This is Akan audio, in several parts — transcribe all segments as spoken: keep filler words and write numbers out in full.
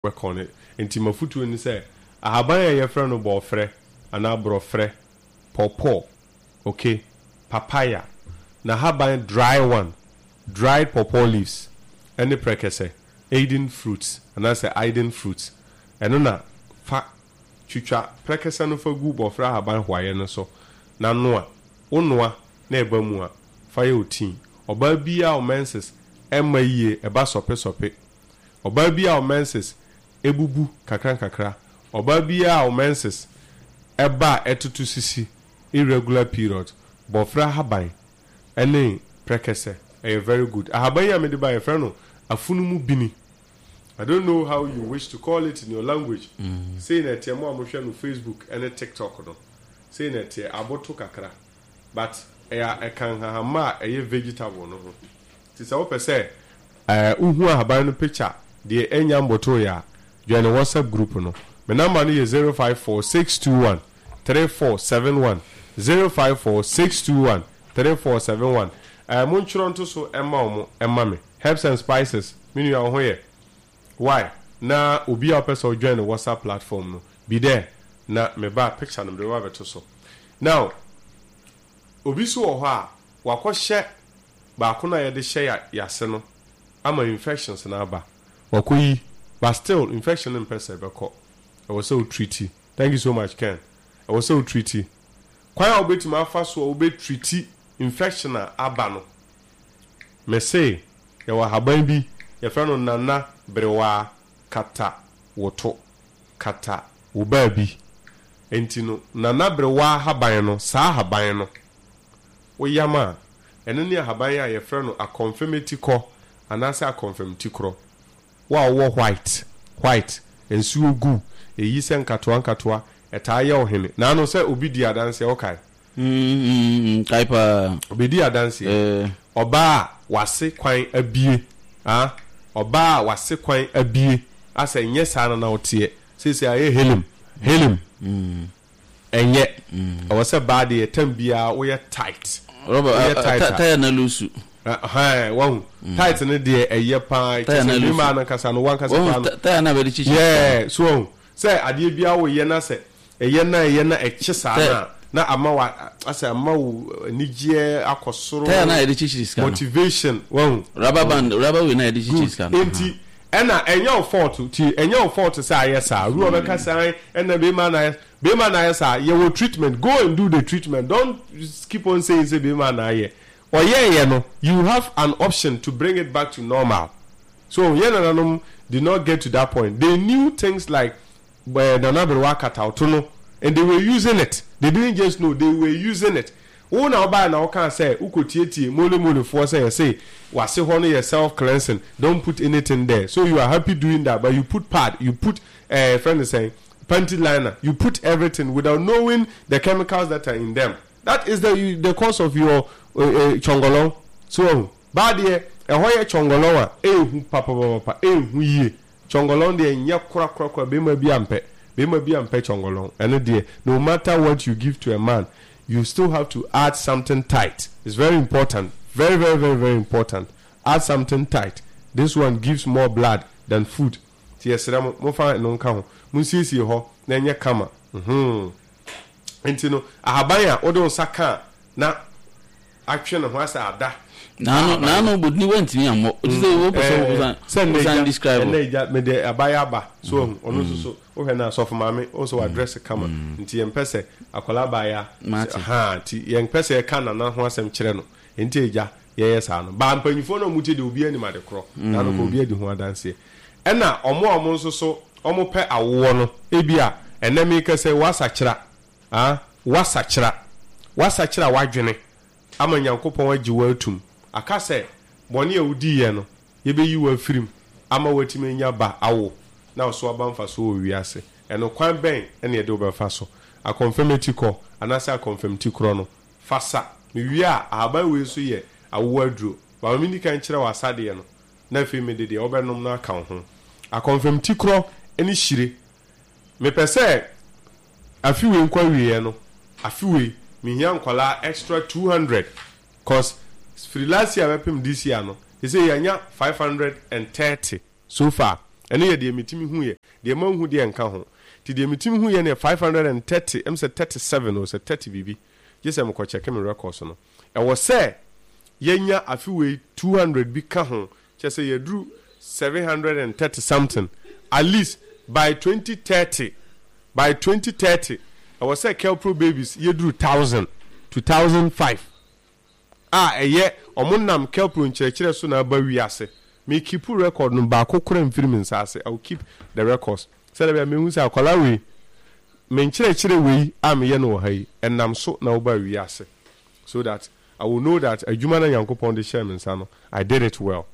Work on it. Nti mafotuo ni sɛ ahaban a yɛfrɛ no bɔɔfrɛ anaa borɔfrɛ, pawpaw, okay, papaya na ahaban, dry one, dried pawpaw leaves, ɛne prɛkɛsɛ, aidan fruits anaasɛ aidan fruits, ɛno na fa twitwa prɛkɛsɛ no fa gu bɔɔfrɛ ahaban hoayɛ no so na noa. Wo noa na ɛba mu a, fa yɛ wo tea. Ɔbaa biara wo menses ɛmma yie, ɛba sɔpe sɔpe, ɔbaa bi a wo menses ebubu kakra nkakra, ɔbaa bi a wo menses ɛba a ɛtoto sisi, irregular period, bɔfra ahaban ɛne prɛkɛsɛ ɛyɛ very good. Ahaban yi a mede ba, yɛfrɛ no afunumu bini. I don't know how you wish to call it in your language. Mm. Sei na ɛteɛ. Mo a mohwɛ no Facebook ɛne TikTok no, sei na ɛteɛ, aboto kakra, but ɛyɛ ɛka nhahama a ɛyɛ vegetable no ho. Nti sɛ wopɛ sɛ ɛɛ wohu ahaban no picture deɛ ɛnya mboto yɛ a, join the WhatsApp group no. Me number no yɛ zero five four six two one three four seven one, zero five four six two one three four seven one. ɛɛ montwerɛ nto so ɛma wɔn, ɛma me herbs and spices. Me nua, wo ho yɛ why na obi a wopɛ sɛ ɔjoin the WhatsApp platform no be there na me ba picture no mede ba bɛto so. Now obi so wɔ hɔ a wakɔhyɛ baako no a yɛde hyɛ yase no ama infections no aba, wakɔ yi, but still infection no mpɛ sɛ ɛbɛkɔ. Ɛwɔ sɛ o treat. Thank you so much, Ken. Ɛwɔ sɛ o treat. Kwan a wobɛtumi afa so a wobɛ treat infection a aba no, mese yɛwɔ ahaban bi yɛfrɛ no nana berewaa kata woto kata wo baabi. Nti no nana berewaa ahaban no, saa ahaban no woyam a, ɛno ne ahaban a yɛfrɛ no akɔnfɛmɛti kɔ anaasɛ akɔnfɛmti korɔ. Wo a wowɔ white white nsuo gu eyi sɛ nkatoa nkatoa ɛtaa yɛ ɔhene naano sɛ obi di adanseɛ, ɔkae. Kae paa. Obi di adanseɛ, ɔbaa a wase kwan abie, ah, ɔbaa a wase kwan abie asɛ nyɛ saa na na ɔteɛ seesei ayɛ helim helim. Ɛnyɛ ɛwɔ sɛ baa deɛ tam biara woyɛ tight. Woyɛ tight a tire na loose. Ɛhɛn, wahu tight no deɛ ɛyɛ paa kyɛ sɛ mmarima no kasa no wankasa paa no. Tire na bɛde kyikyiri. Yɛɛ so wahu sɛ adeɛ biara woyɛ na sɛ ɛyɛ na ɛyɛ na ɛkye saa na na ama wa asɛ ama wo anigyeɛ akɔ soro. Tire na yɛde kyikyiri sika no. Motivation, wahu. Rubber band, rubber wei na yɛde kyikyiri sika no. Nti ɛna ɛnyɛ wo fault ti, ɛnyɛ wo fault sɛ ayɛ saa. Ru ɔbɛka saa, ɛna bɛrima na ayɛ, bɛrima na ayɛ saa. Yɛwɔ treatment. Go and do the treatment. Don't keep on saying say bɛrima na ayɛ. Ɔyɛɛyɛ no, you have an option to bring it back to normal. So yɛn nananom did not get to that point. They knew things like uh, nana berewa katauto no and they were using it. They didn't just know, they were using it. Wo na ɔbaa na ɔka sɛ wokɔ tietie mole molefoɔ sɛ yɛsɛ wase hɔ no yɛ self cleansing, don't put anything there, so you are happy doing that, but you put pad, you put uh, friend is saying panty liner, you put everything without knowing the chemicals that are in them. That is the the cause of your uh, uh, chongolon. So baa deɛ ɛhɔ yɛ chongolon a ehu papapapa, ehu yie. Chongolon deɛ nyɛ korakorakora. Bɛrima bi ampɛ, bɛrima bi ampɛ chongolon. Ɛno deɛ, no matter what you give to a man, you still have to add something tight. It's very important, very very very very important. Add something tight. This one gives more blood than food. Ti yɛsrɛ mo, momfa no nka ho, monsiesie hɔ na ɛnyɛ kama. mhm nti no ahaban a wode wo nsa ka a na atwe ne ho asɛ ada. Naano naano bodini wantumi ammɔ o ti sɛ wopɛ sɛ wosan sɛ nnɛ wosan gya describe. Ɛnɛ gya mede abayɛ aba so ahu ɔno nso so wohwɛ no asɔfo maame wo sɛ wadress kama, nti yɛmpɛ sɛ akwadaa baayɛ Mate. ha, nti yɛmpɛ sɛ yɛka nana ho asɛm kyerɛ no. Nti agya yɛyɛ saa no baa mpanyinfoɔ no a ɔmo tie deɛ obi anim ade korɔ na no kɔ obi adi ho adanseɛ. Ɛna ɔmo a ɔmo nso so ɔmo pɛ awoɔ no, ebi a ɛnɛ mi kɛsɛ wasakyera, ah, wasakyera, wasakyera wadwene ama Nyankopɔn agye wo atum aka sɛ bɔne a wodiiɛ no yɛbɛyi wo afirim ama woatumi anya ba awo na ɔso aba mfa so wɔ wiase. Ɛno kwan bɛn ɛne yɛde wobɛfa so? Akɔmfɛmɛti kɔ anaasɛ akɔmfɛmti korɔ no fa sa. Mewie a, ahaban wei nso yɛ awoɔ aduro. Bama menni kan kyerɛ wɔ asadeɛ no na afei mede deɛ wobɛnom no aka wo ho. Akɔmfɛmti korɔ ne hyire. Mepɛ sɛ afi wei nkɔ awieɛ no, afi wei mehia nkwalaa extra two hundred, 'cause firi last year bɛpem this year no, sɛ yɛanya five hundred and thirty so far. Ɛno yɛ deɛ metumi hu yɛ. Deɛ manhu deɛ nka ho. Nti deɛ metumi hu yɛ no yɛ five hundred and thirty, ɛm sɛ thirty seven o, sɛ thirty biribi. Gye sɛ mekɔ check me records no. Ɛwɔ sɛ yɛnya afe wei two hundred bi ka ho, kyerɛ sɛ yɛaduru seven hundred and thirty something. At least by twenty thirty, by twenty thirty, ɛwɔ sɛ Kelpro babies yɛduru thousand to thousand five. A ɛyɛ ɔmo nam Kelpro nkyerɛkyerɛ so na aba wiase. Me keep record no, baako koraa mfiri me nsa ase. I will keep the records sɛdeɛ ɛbɛyɛ a mehu sɛ akwadaa wei, me nkyerɛkyerɛ wei a meyɛ no wɔ ha yi, ɛnam so na wobaa wiase, so that I will know that adwuma no a Nyankopɔn de hyɛɛ me nsa no, I did it well.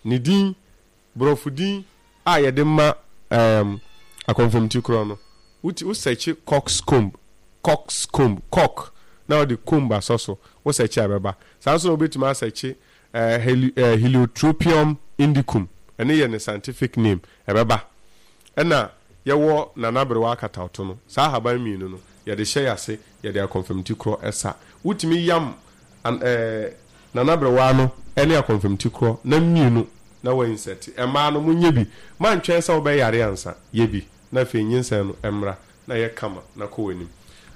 Ne din, Borɔfo din a yɛde ma ɛɛm akɔnfamti korɔ no, wo ti wo sɛkye cockscomb, cockscomb, cock, na wode comb asɔ so, wo sɛkye a ɛbɛba. Saa nso na wobɛtumi asɛkye ɛɛ heli ɛɛ Heliotropium indicum, ɛno yɛ ne scientific name, ɛbɛba. Ɛna yɛwɔ nanaberewa akatawto no, saa ahaban mmienu no, yɛde hyɛ yɛn ase, yɛde akɔnfamti korɔ sa. Wotumi yam an ɛɛ nanaberewa no ne akɔnfamti korɔ na mmienu na wa insert. Mmaa no monyɛ bi. Mantwɛn sɛ wobɛyare ansa. Yɛ bi na afei nyinsɛn no mmra na yɛ kama na kɔ w'anim.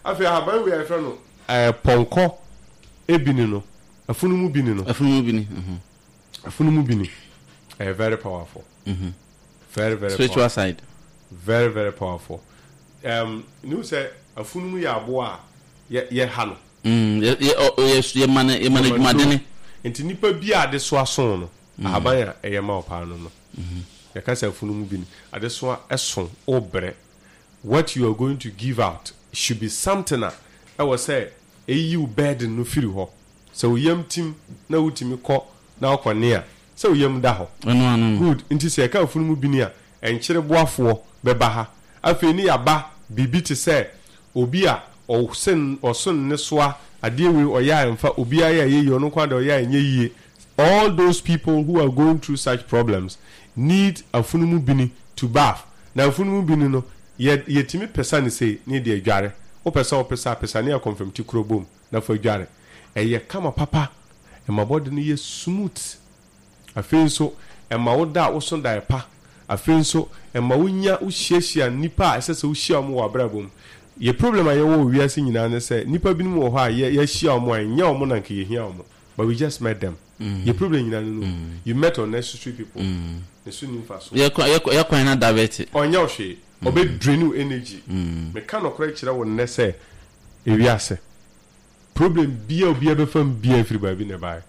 Afei ahaban wei a yɛfrɛ no ɛɛ pɔnkɔ bini no, afunumu bini no. Afunumu bini. Mhm. Afunumu bini. Ɛyɛ very powerful. Mhm. Very very Spiritual powerful. side. Very very powerful. Um, ne sɛ afunumu yɛ aboa a yɛ yɛha no. Mm, yɛ yɛ ɔ yɛ yɛ ma no yɛ ma no adwumadene. Nti nipa bi a adesoa so no, ahaban a ɛyɛ ma wo paa no no. Yɛka sɛ afunumu bi ni, adesoa ɛso, wobrɛ. What you are going to give out should be something a ɛwɔ sɛ ɛyi wo burden no firi hɔ. Sɛ wo yam tim na wotumi kɔ na wokɔ ne a, sɛ wo yam da hɔ. Ɛno ano no. Good. Nti sɛ yɛka afunumu bi ni a, ɛnkyere boafoɔ bɛba ha. Afei ne yɛaba biribi te sɛ obi a ɔsen ɔso nnesoa, adeɛ wei ɔyɛ a ɛmfa, obiara yɛ a ɛyɛ yie, ɔno nko ara deɛ ɔyɛ a ɛnyɛ yie. All those people who are going through such problems need afunumu bini to bath. Na afunumu bini no, yɛ yɛtumi pesa no sei ne yɛde adware. Wopɛ sɛ wopesa a, pesa ne akɔmfamti koro bom na fa dware. Ɛyɛ kama papa, ɛma body no yɛ smooth. Afei nso, ɛma wo da a woso daeɛ pa. Afei nso, ɛma wonya wohyiahyia nnipa a ɛsɛ sɛ wohyia wɔn wɔ abrabɔ mu. Yɛ problem a yɛwɔ wɔ wiase nyinaa ne sɛ, nnipa binom wɔ hɔ a yɛ yɛahyia wɔn a ɛnyɛ wɔn na anka yɛhia wɔn, but we just met them. Yɛ problem nyinaa no no. You met unnecessary people. Ne so nni mfasoɔ. Yɛ kwan yɛ kwan na divert. Ɔnyɛ wo hwee. Ɔbɛ drain wo energy. Meka nɔkorɛ kyerɛ wo nnɛ sɛ, ewiase, problem biara a obiara bɛfa mu biara firi baabi na ɛbaeɛ.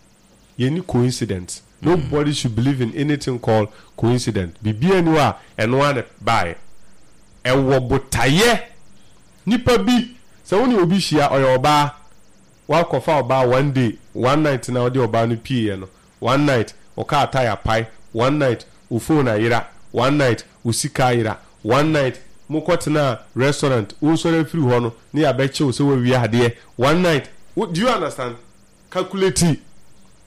Yɛnni coincidence. Nobody should believe in anything called coincidence. Biribiara nni hɔ a ɛno ara na ɛbaeɛ. Ɛwɔ botaeɛ. Nipa bi, sɛ wo ne obi hyia, ɔyɛ ɔbaa, woakɔfa ɔbaa one day, one night na wode ɔbaa no pieeɛ no, one night wo car tyre apae, one night wo phone ayera, one night wo sika ayera, one night mokɔtenaa restaurant, wosɔre afiri hɔ no ne yɛabɛkye wo sɛ woawia adeɛ, one night, wo, do you understand? Calculate.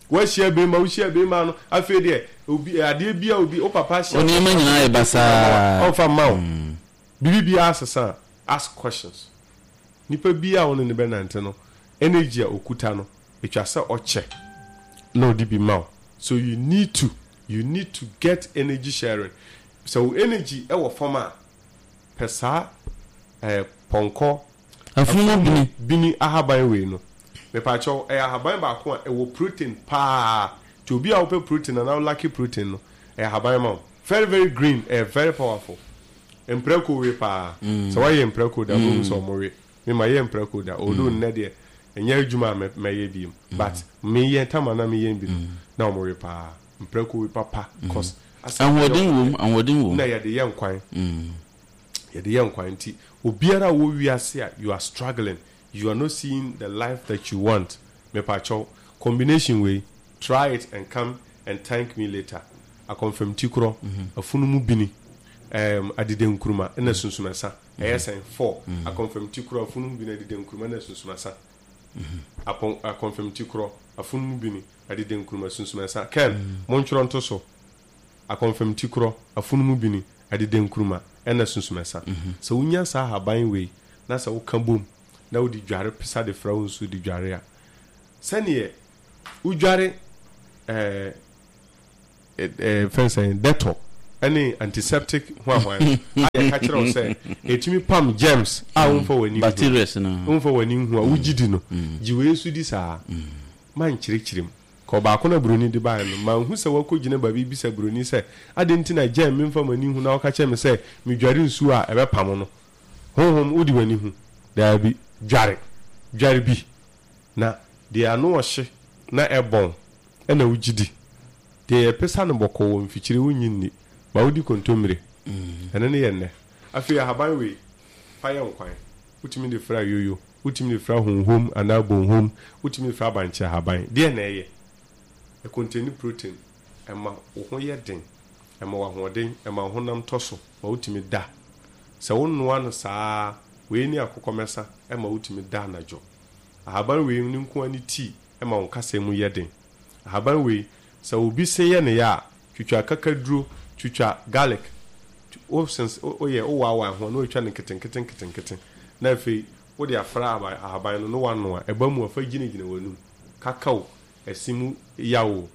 Woahyia bɛrima, wohyia bɛrima no, afei deɛ obi adeɛ bi a obi wo papa hyɛ Wo nneɛma nyinaa yɛ basaa. Ɔmfa mma wo. Biribi biara sesa a, ask questions. Nipa bi a wo ne no bɛnante no, energy a okuta no, etwa sɛ ɔkyɛ na ɔde bi ma wo. So you need to, you need to get energy sharing. Sɛ wo energy wɔ fam a, pɛ saa ɛɛ pɔnkɔ Afunumu bini. Bini ahaban wei no, mepakyɛw, ɛyɛ ahaban baako a ɛwɔ protein paa. Nti obi a wopɛ protein anaa wo lacke protein no, ɛyɛ ahaban ma wo. Very very green, ɛyɛ very powerful. Mprako we paa. Sɛ woayɛ mprako da a, wobɛhu sɛ wɔwe. Me mayɛ mprako da, although nnɛ deɛ ɛnyɛ adwuma a mɛyɛ biom, but meyɛ tam a na meyɛ bi no, na wɔwe paa. Mprako we papa cause asɛ Ahoɔden wom, ahoɔden wom. Na yɛde yɛ nkwan. Yɛde yɛ nkwan nti obiara a ɔwɔ wiase a you are struggling, you are not seeing the life that you want, mepakyɛw, combination wei, try it and come and thank me later. Akɔnfɛmti korɔ, afunumu bini, ɛɛm, adedenkuruma ɛna sunsumɛsa. Ɛyɛ sɛn? Four. Akɔnfɛmti korɔ, afunumu bini, adedenkuruma ɛna sunsumɛsa. Apɔn, akɔnfɛmti korɔ, afunumu bini, adedenkuruma, sunsumɛsa. Ken, montwerɛ nto so. Akɔnfɛmti korɔ, afunumu bini, adedenkuruma ɛna sunsumɛsa. Sɛ wonya saa ahaban wei na sɛ woka bom na wode dware pesa de fra wo nsuo de dware a, sɛdeɛ wodware ɛɛ ɛɛ fɛn sɛn Dettol Ɛne antiseptic hoahwan a yɛka kyerɛ wo sɛ ɛtumi pam germs a womfa w'ani nhu. Bacterias no. Womfa w'ani nhu a wogye di no. Gye wei nso di saa. Mankyerɛkyerɛ mu. Ka ɔbaako na buroni de baeɛ no, manhu sɛ wakɔgyina baabi bisa buroni sɛ, adɛn nti na germ memfa m'ani nhu na woka kyerɛ me sɛ medware nsuo a ɛbɛpamo no? Honhom, wode w'ani hu? Daabi. Dware. Dware bi. Na deɛ ano ɔhye na ɛbɔn na wogye di. Deɛ yɛpesa no bɔkɔɔ wɔ mfikyire wonnye nni. Ma wodi kontommire. Ɛno ne yɛ nnɛ. Afei ahaban wei, fa yɛ nkwan. Wotumi de fra yoyo, wotumi de fra honhom anaa bonhom, wotumi de fra bankye ahaban. Deɛn na ɛyɛ? Ɛkonteni protein, ɛma wo ho yɛ den, ɛma wo ahoɔden, ɛma wo honam tɔ so ma wotumi da. Sɛ wonoa no saa ara, wei ne akokɔmɛsa ɛma wotumi da anadwo. Ahaban wei no nko ara ne tea ɛma wo nkasɛɛ mu yɛ den. Ahaban wei, sɛ obi se yɛ ne ya a, twitwa akakaduro, twitwa garlic, wo sens woyɛ wowaawaa ho a na watwa no nketenkete nketenkete na afei wode afra ahaban ahaban no na wanoa, ɛba mu a fa gyinagyina w'anum, kakaw, ɛse mu yaw o.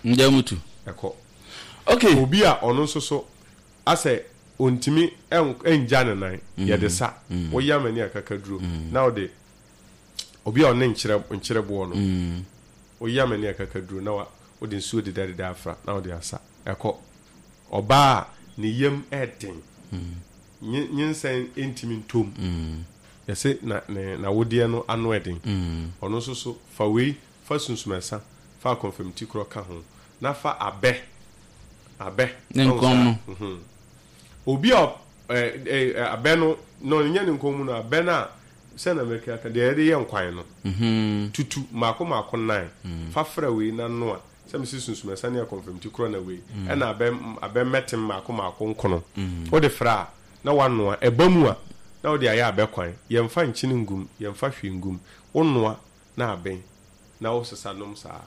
Ngya mu tu. Ɛkɔ. Okay. Obi a ɔno nso so asɛ ontumi ngya ne nan, yɛde sa, woyam ani akakaduro na wode obi a ɔne nkyerɛ nkyerɛboɔ no, woyam ani akakaduro na wa wode nsuo dedadeda afra na wode asa, ɛkɔ. Ɔbaa a ne yam ɛden, nye nyinsɛn ntumi ntɔ mu, yɛse na ne n'awodeɛ no ano ɛden, ɔno nso so fa wei, fa sunsumɛsa, fa akɔnfɛmti korɔ ka ho, na fa abɛ, abɛ, Ne wahu nkɔn saa, no. mhm. Obi a ɛ ɛ ɛ abɛ no, no nyɛ ne nkɔn mu no, abɛ no a, sɛ na mɛka aka, deɛ yɛde yɛ nkwan no, tutu mmaako mmaako nnan, fa fra wei na noa, sɛ mese sunsumɛsa ne akɔnfɛmti korɔ na wei, ɛna abɛ abɛ mmɛtem mmaako mmaako nkono, wode fra a, na woanoa, ɛba mu a, na wode ayɛ abɛ kwan, yɛmfa nkyene ngum, yɛmfa hwee ngum, wonoa na aben, na wosesa nom saa.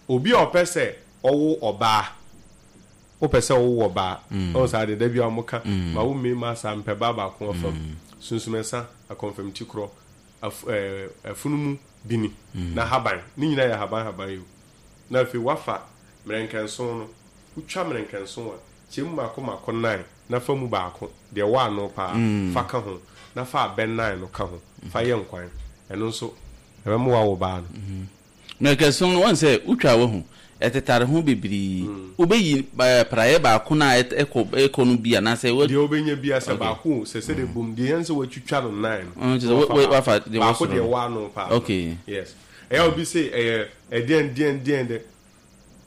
Obi a ɔpɛ sɛ ɔwo ɔbaa, wopɛ sɛ wowo ɔbaa, ɔhu saa deɛ da biara wɔka, ma wo mmarima saa mpɛ baa baako afam, sunsumɛsa, akɔnfɛmti korɔ, af, ɛɛ, afunumu bini, na haban, ne nyinaa yɛ haban haban yi o. Na afei woafa mmerɛnkɛnson no, wotwa mmerɛnkɛnson a, kyɛ mu mmaako mmaako nnan na fa mu baako, deɛ ɛwɔ ano paa, fa ka ho, na fa abɛ nnan no ka ho, fa yɛ nkwan. Ɛno nso, ɛbɛma woawo baa no. Mmerɛnkɛnson no, woahu sɛ wotwa a woahu, ɛtetare ho bebree. Wobɛyi praeɛ baako no a ɛkɔ ɛkɔ no bi anaasɛ wo. Deɛ wobɛnya biara, sɛ baako o, sɛ sɛdeɛ bom, deɛ ɛhia ne sɛ woatwitwa no nnan no, na wafa wafa baako. Deɛ ɛwɔ Baako soro deɛ no. ɛwɔ ano paa no. Okay. Yes. Ɛyɛ a obi se ɛyɛ ɛdeɛn deɛn deɛn dɛ.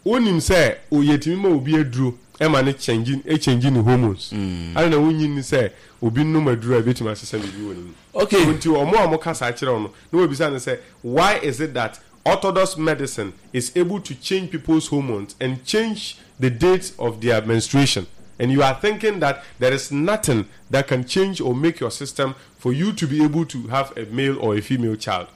Wonim sɛ yɛtumi ma obi aduro ma no kyɛngye ɛkyɛngye ne hormones. Adɛn na wonnye nni sɛ obi nom aduro a ɛbɛtumi asesa biribi wɔ ne mu? Okay. So nti wɔn a wɔka saa kyerɛ wo no, na wɔabisa no sɛ why is it that orthodox medicine is able to change people's hormones and change the date of their menstruation and you are thinking that there is nothing that can change or make your system for you to be able to have a male or a female child?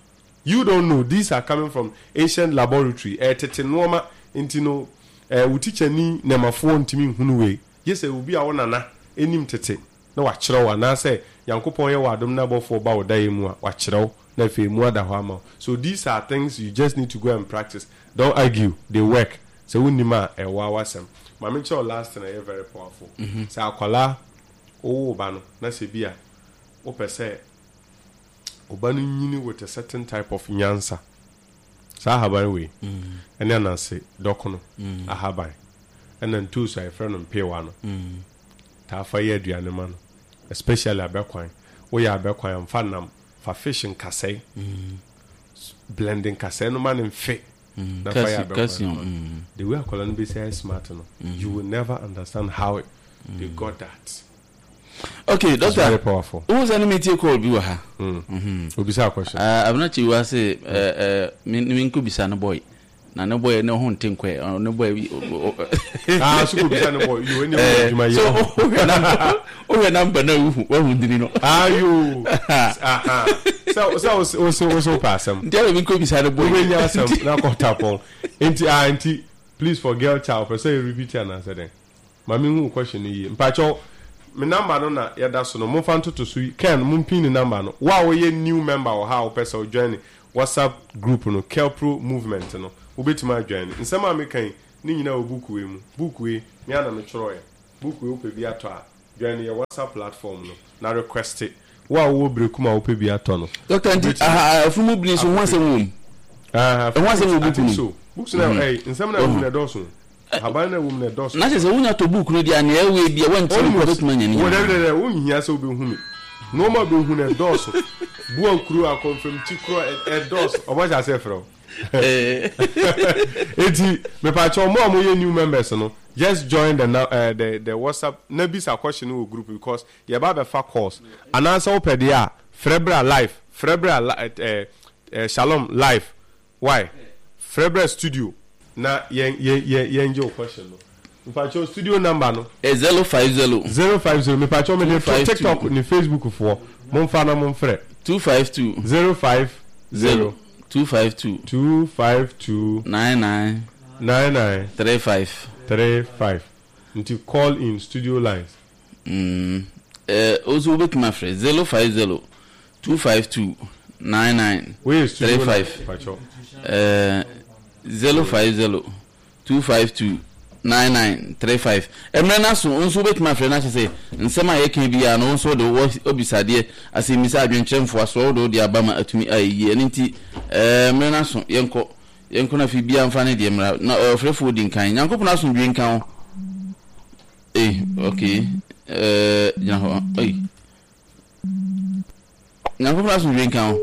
You don't know, these are coming from ancient laboratory, ɛyɛ tete nnoɔma, nti no eh, wo tikyani nɛmafoɔ ntumi nhunu wei, gye sɛ obi a wo nana nim tete na wakyerɛ wo, anaasɛ Nyankopɔn yɛ wo adom na abɔfoɔ ba wo daeɛ mu a, wakyerɛ wo, na afei emu ada hɔ ama wo. So these are things you just need to go and practice, don't argue, they work, sɛ wonnim a, ɛyɛ woa w'asɛm. Ma menkyerɛ wo last thing a ɛyɛ very powerful, sɛ akwadaa, wowo wo ba no, na sɛ bi a wopɛ sɛ Wo ba no nyini with a certain type of nyansa. Saa ahaban wei ɛne ananse dɔkono ahaban ɛna ntoosi a yɛfrɛ no mpeewa no taa fa yɛ aduane ma no especially abɛkwan. Woyɛ abɛkwan a mfa nam, fa fish nkasɛe, blend nkasɛe no ma no mfe na fa yɛ abɛkwan no ma no. The way akwadaa no bɛsi ayɛ smart no, you will never understand how they got that. Okay, It's very doctor. powerful. Wohu sɛ ne metie call bi wɔ ha. Obisa question. Ah, Abena Kyiwa se eh, eh, me menkɔ bisa ne boy. Na ne boy ne ho nte nkɔɛ. Ɔ, Ne boy bi. o- o- Ah, so ko bisa ne boy. Yo, eni wo Eh, adwuma so yɛ. wohwɛ number wohwɛ number na wohu woahu dini no. Ah, yo. Aha. Sɛ sɛ wo wo wo wo pɛ asɛm. Nti ɛna menkɔ bisa ne boy. Wobɛnya asɛm na kɔta pɔn. Nti ah nti please for girl child pɛ sɛ yɛ repeat anaasɛ dɛn? Ma me nhu wo question no yie. Mpakyɛw me number no na yɛda so no momfa ntoto so yi Ken mo mpin ne number no. Wo a woyɛ new member wɔ ha a wopɛ sɛ wo join WhatsApp group no Kelpro movement no wobɛtumi a join. Nsɛm a meka yi Ne nyinaa wɔ book wei mu. Book wei, me ara na metwerɛeɛ. Book wei wopɛ bi atɔ a, join yɛ WhatsApp platform no na request. Wo a wowɔ Berekum a wopɛ bi atɔ no, Doctor, nti wobɛtumi aha afunumu bini so ho akɔpɛ asɛm bi. wɔ mu? Ah, Ɛho asɛm wɔ I book think no mu? so. Books no, ɛy, nsɛm no a ɛwɔ mu no ɛdɔɔso. Ahaban no a ɛwɔ mu no ɛdɔɔso. Na kyerɛ sɛ wonya tɔ book no deɛ a, nea ɛwɔ bi a woantumi kɔ Almost. wobɛtumi anya ne Wo nyinaa. dɛbi dɛbi, wonhia sɛ wobɛhu me. Nneɛma a wobɛhu no ɛdɔɔso. Boa kuro, akɔmfamti korɔ, ɛdɔɔso. Ɔmo ahyɛ aseɛ frɛ wo. Eti, mepakyɛ ɔmo a moyɛ new members no, just join the, uh, the, the WhatsApp na bisa question no wɔ group because yɛba abɛfa calls. Anaasɛ wopɛ deɛ a, frɛ bra live, frɛ bra li, eh, eh, Shalom live. Why? Frɛ bra studio na yɛn yɛn yɛn yɛn gye wo question no. Mepakyɛ studio number no. Ɛ zero five zero. Zero five zero. Mepakyɛ mede Two to five two. TikTok ne Facebook foɔ. Momfa na momfrɛ. Two five two. Zero five zero. Zero two five two. Two five two. Nine nine. Nine nine. Three five. Three five. Nti call in studio lines. Mm. Eh, also wobɛtumi afrɛ zero five zero two five two nine nine Wei studio three five. Mepakyɛ. Eh, zero five zero two five two nine nine three five. Mmerɛ no aso nso wobɛtumi afrɛ no ahyɛ sɛ nsɛm a yɛka biara no wo nso wode wɔ obisadeɛ asɛmmisa adwenkyerɛ mfoasoɔ wode wode aba ma atumi ayɛ yie. Ɛno nti eh, mmerɛ no aso, yɛnkɔ yɛnkɔ no afei biara mfa ne deɛ mmra na ɔfrɛfoɔ di nkan. Nyankopɔn asomdwe nka wo. Eh, okay. Eh, gyina hɔ. Ei. Nyankopɔn asomdwe nka wo.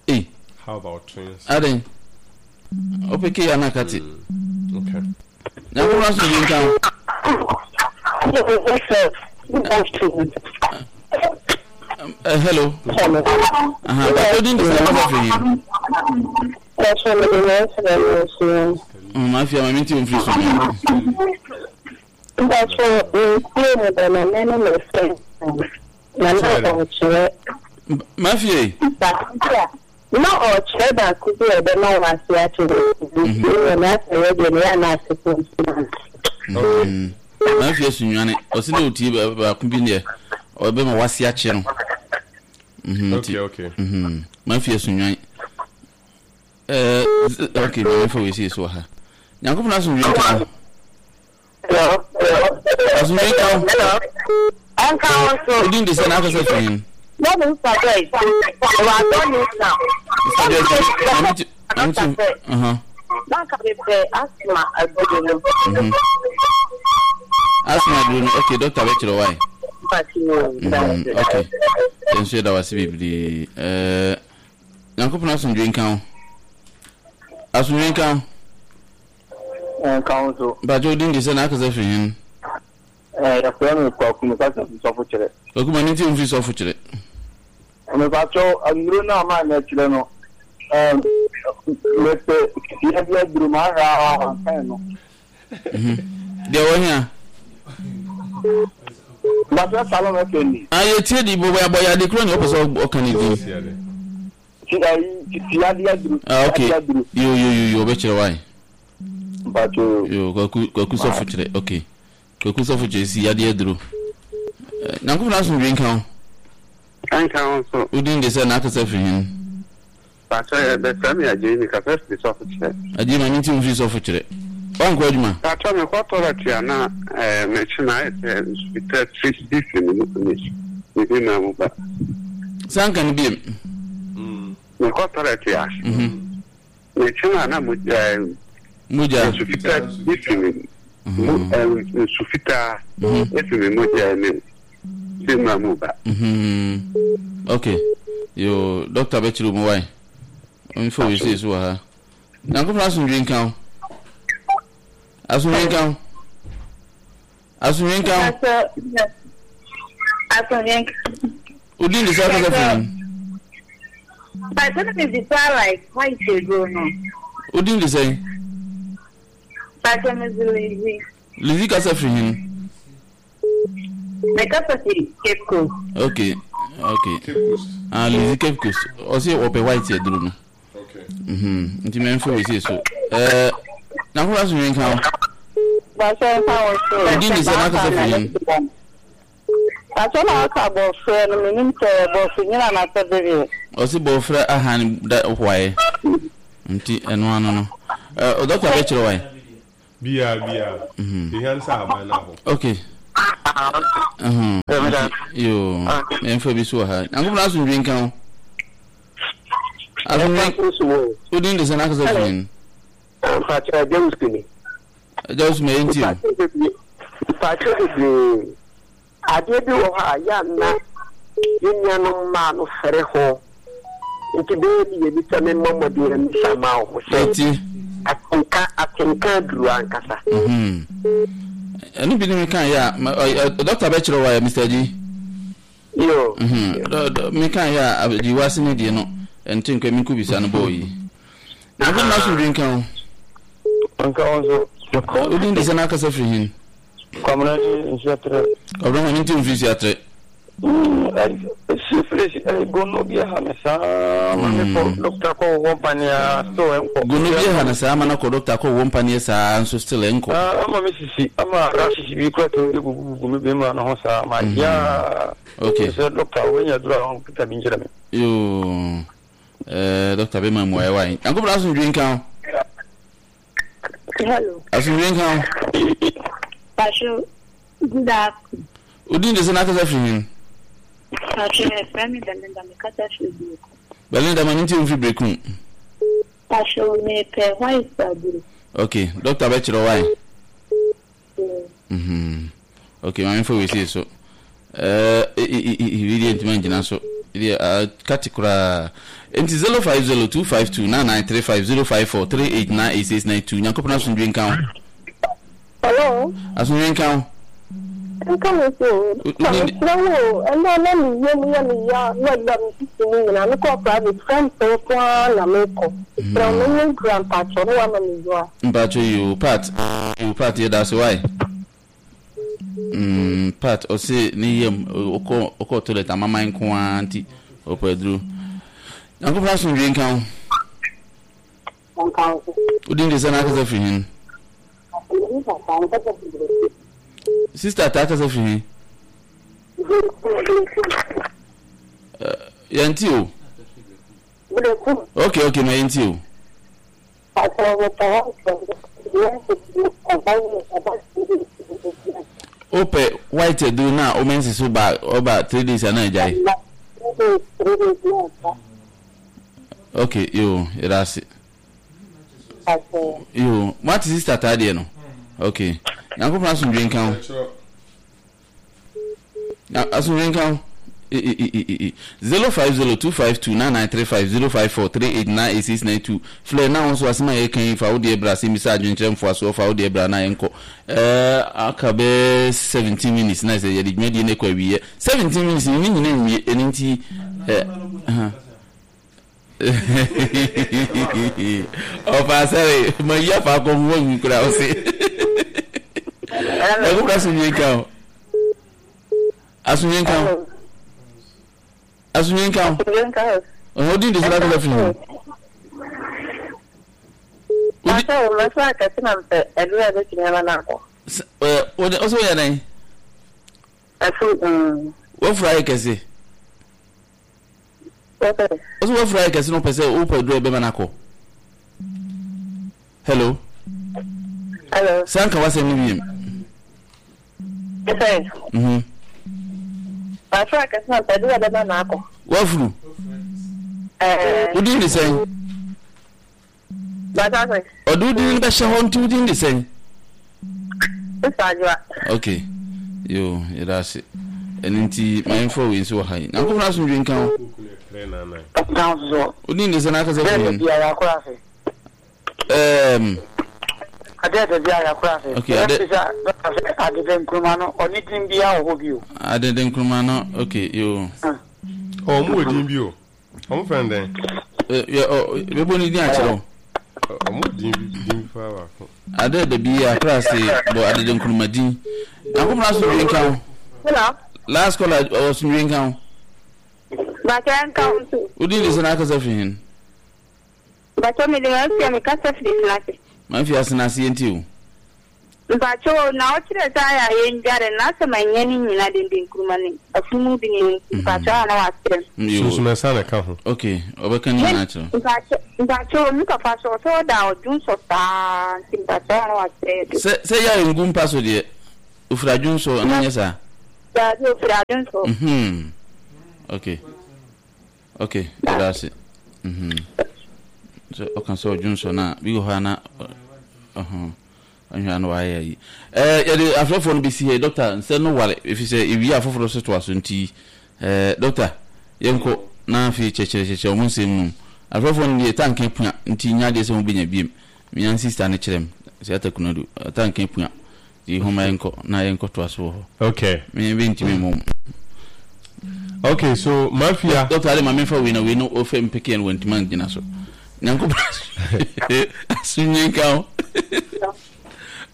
Ei. How about twins? Aden. Opeke ya na kati. Mm, okay. Nyankopɔn asomdwe nka wo. Uh, hello. Hello. Aha, but odin de sɛ kasa firi hin. Mm, mafia ma minti mfiri so. Mafia. Na ɔkyerɛ baako bi a ɛbɛma wo ase akyerɛ nti na asɛ yɛ deɛ ne yɛ ana ase fo nti. Mafia sunwane ɔsi na otie baako bi deɛ ɔbɛma wase akye no. Okay, okay. Mafia sunwane. Eh, okay, maame fa wei si so ha. Nyankopɔn asomdwe nka wo. Asomdwe nka wo. Ɛnka wo nso. Odin de sɛ n'akasa firi hin. Mɔmu Mister Joyce, wɔ adɔ New Town. Mister Joyce, maame ti, maame ti, uh-huh. Nanka mepɛ asthma aduro no. Mhm. Asthma aduro no, okay, doctor bɛkyerɛ wae. Mhm, okay. Yɛn nso yɛda wase bebree. Eh, Nyankopɔn asomdwe nka wo. Asomdwe nka wo. Nka wo nso. Mpakyɛ odin de sɛ n'akasa firi hin. Eh, yɛfrɛ me Kwaku, mekasa fi sɔfo kyerɛ. Kwaku ma ne ti mfiri sɔfo kyerɛ. Mepakyɛw, nnuro no a maa na kyerɛ no, ɛm, mepɛ yɛde aduro ma ahwɛ a wankan no. Deɛ wɔ hia. Mepakyɛw Salom F M ni. Ah, yɛtie di bɔbɔ abɔ yɛ ade kuro ne ɔpɛ sɛ ɔka ne din. Ti ayi titi ade aduro. Ah, okay. Ade aduro. Yo yo yo yo ɔbɛkyerɛ wae. Mepakyɛw. Yo, Kwaku Kwaku sɔfo kyerɛ. Okay. Kwaku sɔfo kyerɛ si yade aduro. Nyankopɔn asomdwe nka wo. Nka wo nso. Wodin de sɛ n'akasa firi hin. Pastor, yɛbɛfrɛ me Agyei, mekasa firi sɔfo kyerɛ. Agyei, ma mente wo mfiri sɔfo kyerɛ. Woankɔ adwuma? Pastor, mekɔ toilet a na eh, mekyi na ayɛ sɛ nsu fitaa firi bi firi me mu me me bi ma mu ba. San ka no biem. Mekɔ toilet a mekyi na na mo eh, Mogya. nsu fitaa bi firi me mu eh, nsu fitaa efiri me mogya me bi ma mu ba. Mhm. Okay. Yo, doctor bɛkyerɛ mu wae. Mfa wei sei so wɔ ha. Nyankopɔn asomdwe nka wo. Asomdwe nka wo. Asomdwe nka wo. Asomdwe nka. Odin de sɛ akasa firi mu. But na me bisa like white aduro no. Odin de sɛn? Pastor me zi Lizzy. Lizzy kasa firi hin. Me kasa firi Cape Coast. Okay, okay. Cape Coast. Ah, Lizzy Cape Coast. Ɔsi ɔpɛ white aduro no. Okay. Mhm. Nti mɛ nfa wei sei so. Eh, Nyankopɔn asomdwe nka wo. Pastor nka wo so. Odin de sɛ n'akasa firi hin. Pastor na ɔka bɔfrɛ no menim sɛ bɔfrɛ nyina na sɛ bereɛ. Ɔsi bɔfrɛ ahan da hwae. Nti ɛno ano no. Eh, doctor bɛkyerɛ wae. Biara biara. Ehia ne sɛ ahaban no ahɔ. Okay. Yo, yɛmfa bi so wɔ ha. Nyankopɔn asomdwe nka wo. Asomdwe. Wodin de sɛ n'akasa firi no. Mpakyɛ agya wusu ni. Agya wusu ma yɛnti o. Mpakyɛ bebree. Adeɛ bi wɔ hɔ a yɛ anna yɛn nuanom mmaa no fɛre ho. Nti bɛyɛ mmienu sɛ memmɔ mmɔden mmisa ma wo sɛ atenka atenka aduru ankasa. Ɛno bi ne meka yɛ a dɔkta bɛkyerɛ wa yɛ Mister G. Yo. Meka yɛ a gyi wase ne deɛ no ɛnte nkwa mi bisa no bɔɔ yi. Na nkɔ na asomdwe nka wo. Nka wo nso. Wodin de sɛ n'akasa firi hin. Kwamina ni Nsuatrɛ. Kwamina ma ne nti mfiri Nsuatrɛ. Syphilis gono bi aha me saa ma me kɔ dɔkta kɔ wɔ mpaneɛ still ɛnkɔ. Gono bi aha no saa ma no kɔ dɔkta kɔ wɔ mpaneɛ saa nso still ɛnkɔ. Ama me sisi ama rashes bi kura tumi de gugu gugu me bɛrima no ho saa ma yaa. Okay. Sɛ dɔkta wɔnya duro a wɔn bi nkyerɛ me. Yoo ɛɛ dɔkta bɛ ma mu ayɛ wa yi. Yankobra asomdwe nka ho. Hello. Asomdwe nka ho. Pastor, good afternoon. Odin de sɛ n'akasa firi hin. Pastor, ɛfrɛ me Belinda, mekasa firi Berekum. Belinda, ma ne nti mfiri Berekum. Pastor, mepɛ white aduro. Okay, doctor bɛkyerɛ why. Mm. Okay, maame fo wei so. Eh, eh, eh, ntoma ngyina so. Deɛ kati koraa. Nti zero five zero two five two nine nine three five zero five four three eight nine eight six nine two. Nyankopɔn asomdwe nka ho. Hello. Asomdwe nka ho. Nka me so. Mesrɛ wo, ɛnna na me yam yɛ me ya na da me sisi mu nyinaa mekɔ private friend nko ara na mekɔ. Mesrɛ wo menyɛ nkura mpakyɛ na wama me dua. Mpakyɛ yi o part o part yɛ da so why? Mm, part ɔse ne yam ɔkɔ ɔkɔ toilet amama nko ara nti ɔpɛ aduro. Nyankopɔn asomdwe nka ho. Nka ho. Wodin de sɛ n'akasa firi hin. Sister ta akasa firi hin. Yɛnti o. Okay, okay, ma yɛnti o. Ope white aduro na o mensi so ba oba three days ana agyae. Okay, yo, yɛda yo, what is sister ta deɛ no? Okay. Nyankopɔn asomdwe nka ho. Asomdwe nka ho. Zero five zero two five two nine nine three five zero five four three eight nine eight six nine two. Flare na nso asema yɛ kan fa wo deɛ bra sɛ misa adwenkyerɛ mfoasoɔ fa wo deɛ bra na yɛnkɔ. Eh, aka bɛ seventeen minutes na sɛ yɛde dwumadie no kɔ awieɛ. seventeen minutes ni nyina nwie ɛno nti eh ɔfa sɛre ma yi afa akɔ mu wɔnwi kora wo se ɛkokora asomdwe nka ho asomdwe nka ho asomdwe nka ho ɔhɔ din de sɛ nakasa firi ho ɔsɛ woyɛ dɛn wafura ayɛ kɛse ɔsɛ wafura ayɛ kɛse no pɛ sɛ wopɛ duro ɛbɛma no akɔ. Hello. Hello. Sanka wasɛm no wiem. Mhm. Wafura kɛse no pɛ duro ɛbɛma no akɔ. Wafuru. Wodin de sɛn? Ɔde wodin no bɛhyɛ hɔ nti wodin de sɛn? Okay. Yo, yɛda ase. Ɛno nti mayɛmfa wei nso wɔ ha yi. Nyankopɔn asomdwe nka ho. Wodin de sɛn akasa firi mu? Um, okay, ade Adede nkruma no oni din bia wo bi o. Adede nkruma no, okay, yo. Oh, mo din bi o. Omo friend den. Eh, ye o bebo ni din a kire o. Omo din bi din fa ba ko. Adede bi akra se bo adede nkruma din. Nyankopɔn asomdwe nka ho. Hello. Last caller asomdwe nka ho. Ba ka nka ho so. Wodin de sɛ na akasa firi hin. Bacho me de ma fia me kasa firi Sinase. Ma fia Sinase yenti o. Mpacho na ɔkyerɛ sɛ ayɛ a yɛndware na asɛm anyɛ ne nyina denden nkuruma ne afunumu bi ne mpacho a na wakyerɛ m. Yo. Sunsumɛsa na ɛka ho. Okay, ɔbɛka ne nyinaa kyerɛ. Mpacho mpacho me papa so ɔsɛ ɔda ɔdwo nsɔ saa nti mpacho a na wakyerɛ de. Sɛ sɛ yɛ a ngu mpa so deɛ, ofiri adwo nsɔ na nyɛ saa. Daabi ofiri adwo nsɔ. Mhm. Okay. Okay, yɛda ase. Mhm. Sɛ ɔka sɛ ɔdwo nsɔ no a, bi wɔ hɔ a na ɔho ɔhwɛ a na wayɛ ayi. Ɛɛ yɛde afrɛfoɔ no bɛsi ha yi, dɔkta nsɛm no ware ɛfiri sɛ ewie a foforɔ so toa so nti ɛɛ dɔkta yɛnkɔ na afei kyerɛkyerɛkyerɛkyerɛ wɔn nsɛm mu. Afrɛfoɔ no deɛ tanka pua nti nyɛ adeɛ sɛ wɔbɛnya biem. Menya sista no kyerɛ m sɛ atakunadu tanka pua nti homa yɛnkɔ na yɛnkɔ toa so wɔ hɔ. Okay. Me bɛntumi mmom. Okay, so mafia. Dɔkta ade ma memfa wei na wei no ɔfɛ mpɛkɛ no wantumi angyina so. Nyankopɔn asomdwe nka wo.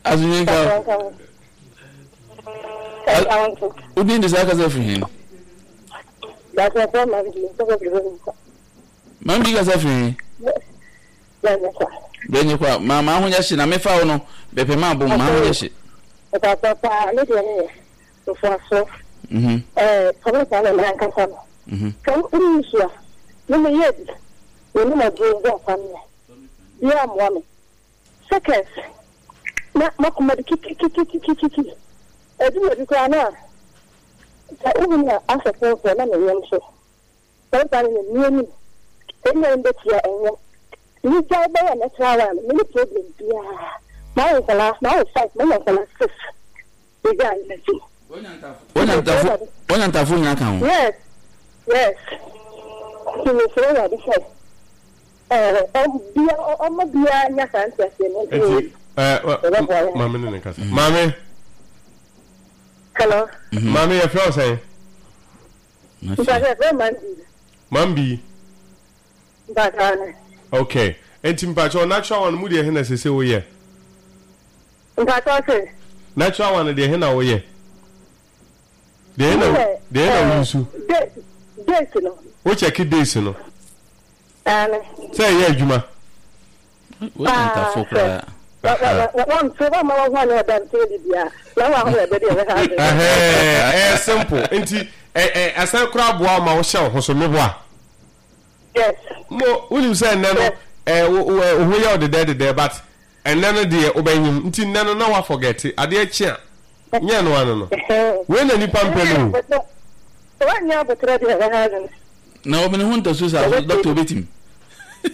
Asomdwe nka wo. Wodin de saa kasa firi he? Mambi kasa firi he? Bɛnyɛ kwa ma ma ho nyɛ hye na mefa wo no bɛpɛ ma abom ma ho nyɛ hye. Mhm. Mhm. Seconds na makoma de kikikikikikiki ɛdi bi koraa na sɛ wohu na asɛ fɔmfɔ na meyam so sɛ ne ne anim ɛnyɛ mbɛtia ɛnyɛ ne gyae bɛyɛ natural one mene problem biara mawo nkɔlaa mawo five manya nkɔlaa six megyae n'akyi. Wonya ntafo nyinaa ka ho. Yes, yes, nti mesrɛ Awurade sɛ ɛɛ bia ɔma biara nya saa nteaseɛ no nti ɛɛ maame ne ne kasa. Maame. Hello. Maame yɛfrɛ wo sɛn? Mpakyɛ yɛfrɛ Mambi. Mambi. Mpakyɛ ne. Okay. Nti mpakyɛ natural one mu deɛ he na sese woyɛ? Mpakyɛ ɔse. Natural one deɛ he na woyɛ? Deɛ he na deɛ he na woyi Days no. Wo check days no. Ane. Sɛ ɛyɛ adwuma. Wonya ntafo koraa. Ɛyɛ simple nti ɛsan koraa boa wo ma wohyɛ wo ho so meboa. Yes. Mo wonim sɛ ɛnɛ no ɛɛ wo ho yɛ wo dedɛ dedɛ but ɛnɛ no deɛ wobɛnyim nti nnɛ no na woafɔgɛte adeɛ kye a nyɛ no ano no wei na nipa mpɛ no o. Wanyɛ abotrɛ deɛ ɛbɛha adwene. Na ɔmene ho ntasuo saa so dɔkta obɛtumi.